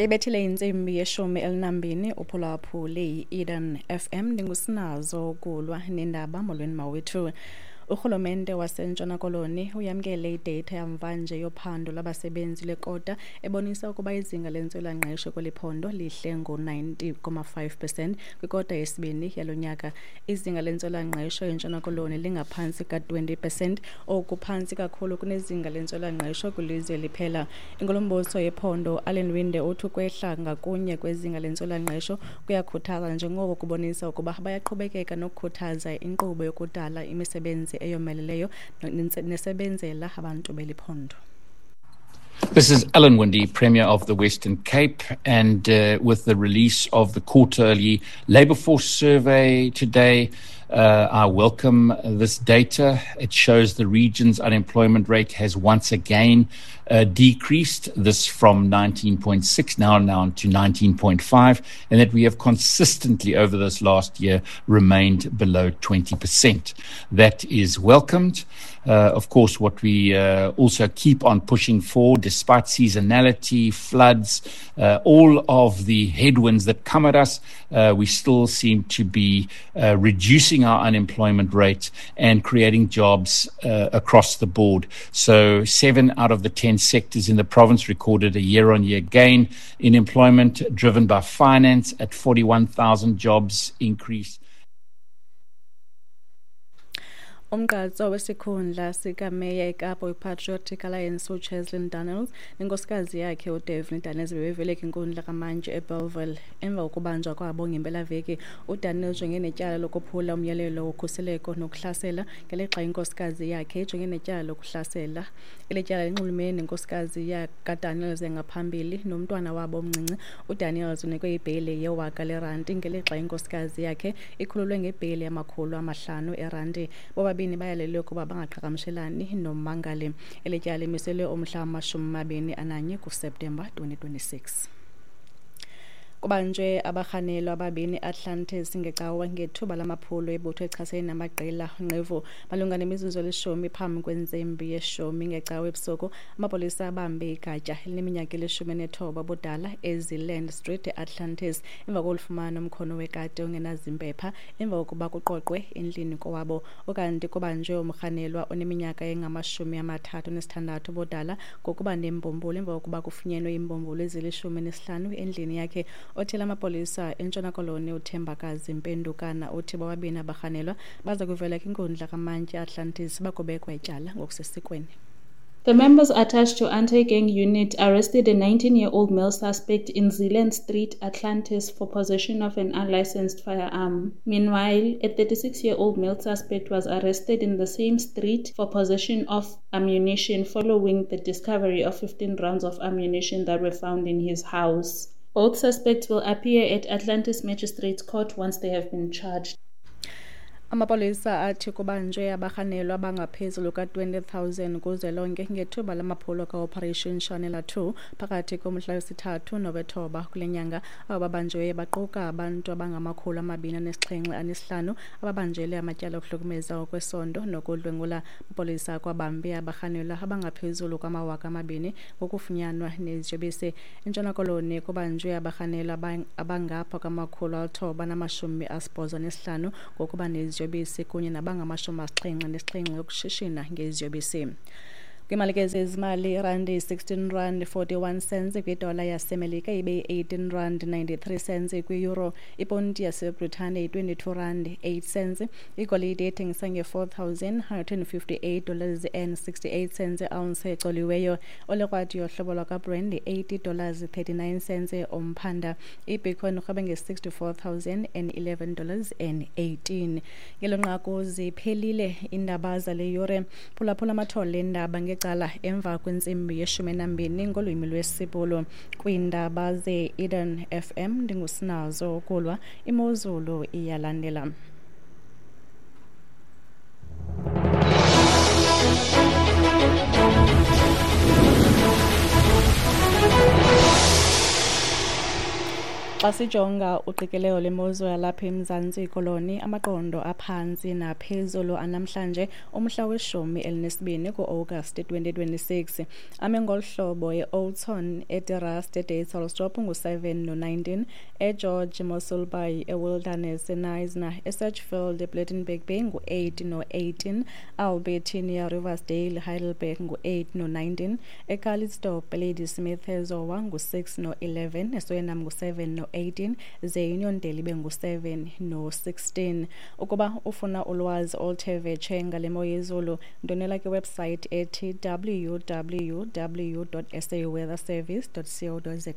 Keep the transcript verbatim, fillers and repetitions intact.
Ibethile intsimbi yeshumi elinambini uphulaphule yi-Eden F M. Ndingusinazo kulwa nendaba. Molweni mawethu. Urhulumente waseNtshona Koloni uyamkele idata yamvanje yophando lwabasebenzi lekota ebonisa ukuba izinga lentswelangqesho kweli phondo lihle ngo-ninety point five percent kwikota yesibini yalo nyaka. Izinga lentswelangqesho eNtshona Koloni lingaphantsi ka-twenty percent, oku phantsi kakhulu kunezinga lentswelangqesho kwilizwe liphela. Inkulumbuso yephondo Alan Winde uthi ukwehla ngakunye kwezinga lentswelangqesho kuyakhuthaza njengoko kubonisa ukuba bayaqhubekeka nokukhuthaza inkqubo yokudala imisebenzi eyomeleleyo nesebenzela abantu beli phondo. This is Alan Winde, Premier of the Western Cape, and uh, with the release of the quarterly labour force survey today, uh, I welcome this data. It shows the region's unemployment rate has once again uh, decreased, this from nineteen point six now down to nineteen point five, and that we have consistently over this last year remained below twenty percent. That is welcomed. Uh, of course, what we uh, also keep on pushing for, despite seasonality, floods, uh, all of the headwinds that come at us, uh, we still seem to be uh, reducing our unemployment rate and creating jobs uh, across the board. So seven out of the ten sectors in the province recorded a year-on-year gain in employment, driven by finance at forty-one thousand jobs increase. Umgqatso wesikhundla sikameya eKapa wePatriotic Alliance uCheslin Daniels nenkosikazi yakhe uDevin Daniels bebevele kwinkundla kamantyi eBellville emva kokubanjwa kwabo ngempelaveki. uDaniels ujongene netyala lokuphula umyalelo wokhuseleko nokuhlasela, ngelixa inkosikazi yakhe ijongene netyala lokuhlasela. Eli tyala linxulumene nenkosikazi kaDaniels yangaphambili nomntwana wabo omncinci. uDaniels unikwe ibheyile yewaka leranti, ngelixa inkosikazi yakhe ikhululwe ngebheyile yamakhulu amahlanu eranti. Bobabini bayalelwe ukuba bangaqhagamshelani nommangali. Eli tyala limiselwe umhla wamashumi amabini ananye kuSeptemba twenty twenty-six. Kubanjwe abarhanelwa ababini Atlantis ngecawa ngethuba lamaphulo ebutho echasene namaqela nqevu. Malunga nemizuzu elishumi phambi kwentsimbi yeshumi ngecawa ebusuku, amapolisa abambe igatya elineminyaka elishumi nethoba ubudala eZealand Street eAtlantis emva kolufumana umkhono wekati ongenazimpepha emva kokuba kuqoqwe endlini kowabo. Ukanti kubanjwe umrhanelwa oneminyaka engamashumi amathathu nesithandathu ubudala ngokuba nembumbulu emva kokuba kufunyenwe iimbumbulu ezilishumi nesihlanu endlini yakhe. Othela amapolisa eNtshona Koloni uThembakazi Mpendukana uthi bobabini abarhanelwa baza kuvela kwinkundla kamantyi Atlantis bakubekwa ityala ngokusesikweni. The members attached to anti-gang unit arrested a nineteen-year-old male suspect in Zealand Street, Atlantis, for possession of an unlicensed firearm. Meanwhile, a thirty-six-year-old male suspect was arrested in the same street for possession of ammunition following the discovery of fifteen rounds of ammunition that were found in his house. Both suspects will appear at Atlantis Magistrates Court once they have been charged. Amapolisa athi kubanjwe abarhanelwa abangaphezulu ka-twenty thousand kuzwelonke ngethuba lamaphulo ka-Operation Shanela two phakathi komhla wesithathu nowethoba kule nyanga. Abo babanjiweyo baquka abantu abangamakhulu amabini anesixhenxe anesihlanu ababanjelwe amatyala okuhlukumeza ngokwesondo nokudlwengula. Amapolisa akwabambe abarhanelwa abangaphezulu kwamawaka amabini ngokufunyanwa neziyobisi. ENtshona Koloni kubanjwe abarhanelwa abangapha kwamakhulu alithoba namashumi asibhozo nesihlanu ngokuba neziyobisi kunye nabangamashumi asixhenxe nesixhenxe yokushishina ngeziyobisi. Kwimali ke zezimali, irandi sixteen rand forty-one cents kwidola yaseMelika ibe eighteen rand ninety-three cents kwi-euro. Iponti yaseBritane yi-twenty-two rand eight cents. Igolide ethengisa nge-four thousand one hundred fifty-eight dollars and sixty-eight cents ounce ecoliweyo. Olekrwati yohlobo lwakwaBrand eighty dollars thirty-nine cents umphanda. IBitcoin irhwebe nge-sixty-four thousand and eleven dollars and eighteen. Ngelo nqaku ziphelile iindaba zale yure. Phulaphula amathole eendaba nge cala emva kwentsimbi yeshumi nambini ngolwimi lwesiBhulu. Kwiindaba ze-Eden F M ndingusinazo ukulwa. Imozulu iyalandela. Xa sijonga uqikelelo lwemozulu yalapha eMzantsi Koloni, amaqondo aphantsi naphezulu anamhlanje umhla weshumi elinesibini ku-Agasti twenty twenty-six ame ngolu hlobo: e-Oudtshoorn, eTerrace, eDuyvelsdorp ngu-seven no-nineteen, eGeorge, Mossel Bay, eWilderness, eKnysna, eSedgefield, ePlettenberg Bay ngu-eight no-eighteen, Albertinia, Riversdale, Heidelberg ngu-eight no-nineteen, eCalitzdorp, Ladysmith, eZowa ngu-six no-eleven, eSwellnum ngu-seven no eighteen, ze Uniondale ibe ngu-seven no-sixteen. Ukuba ufuna ulwazi oluthe vetshe ngale mo yezulu, ndonela kwiwebsite ethi w w w dot s a weather service dot co dot za.